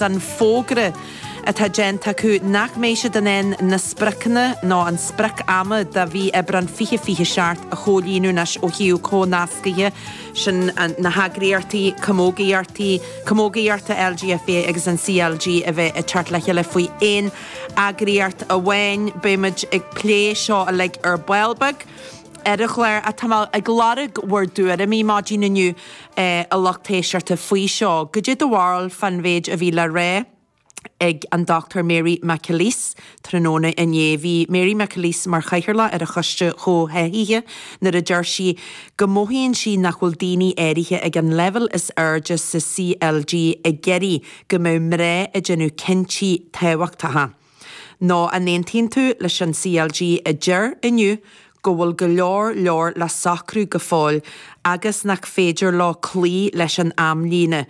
An fógra atá déanta acu nach mbeidh siad in ann na spriocanna nó an sprioc ama do mhí Aibreán 2027 a chomhlíonadh anois ó thaobh comhnascaithe, sin na heagraíochtaí camógaíochtaí, camógaíochta LGFA agus an CLG a bheith ag teacht le chéile faoi aon eagraíocht amháin. Beidh muid ag plé seo uilig ar ball beag. ar an chlár ach tá mé ag lorg bhur dtuairimí maidin inniu a lucht éisteachta faoi seo. Goidé do bharúil fán mhéid a bhí le rá ag an Dr Mary McAleese tráthnóna inné. Bhí Mary McAleese mar chathaoirleach ar an Choiste Chomhtháthaithe nuair a deir sí go mothaíonn sí nach bhfuil daoine áirithe ag an leibhéal is airde sa CLG ag iarraidh go mbeadh mná ag déanamh cinntí tábhachtacha. Nó an aontaíonn tú leis an CLG a deir inniu go bhfuil go leor leor le socrú go fóill agus nach féidir leo cloí leis an amlíne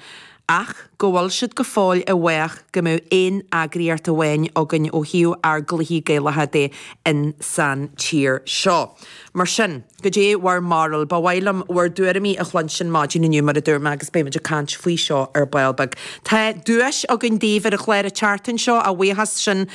ach go bhfuil siad go fóill i bhfách go mbeadh aon eagraíocht amháin againn ó thaobh ár gcluichí Gaelacha de in san tír seo. Mar sin. Goidé bhur mbarúil? Ba mhaith liom bhur dtuairimí a chluinstin maidin inniu, mar a dúirt mé, agus beidh muid ag caint faoi seo ar ball beag. Tá duais againn daoibh ar an chlár an tseachtain seo, a bhuíochas sin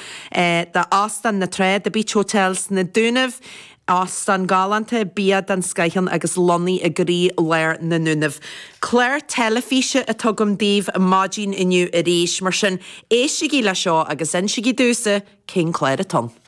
d'Óstán na Trá, The Beach Hotel sna Dúnaibh. Óstán galánta, bia den scoith ann agus lonnaithe i gcroí lár na nDúnaibh. Clár teilifíse atá agam daoibh maidin inniu arís, mar sin éistigí le seo agus insígí domhsa cén clár atá ann.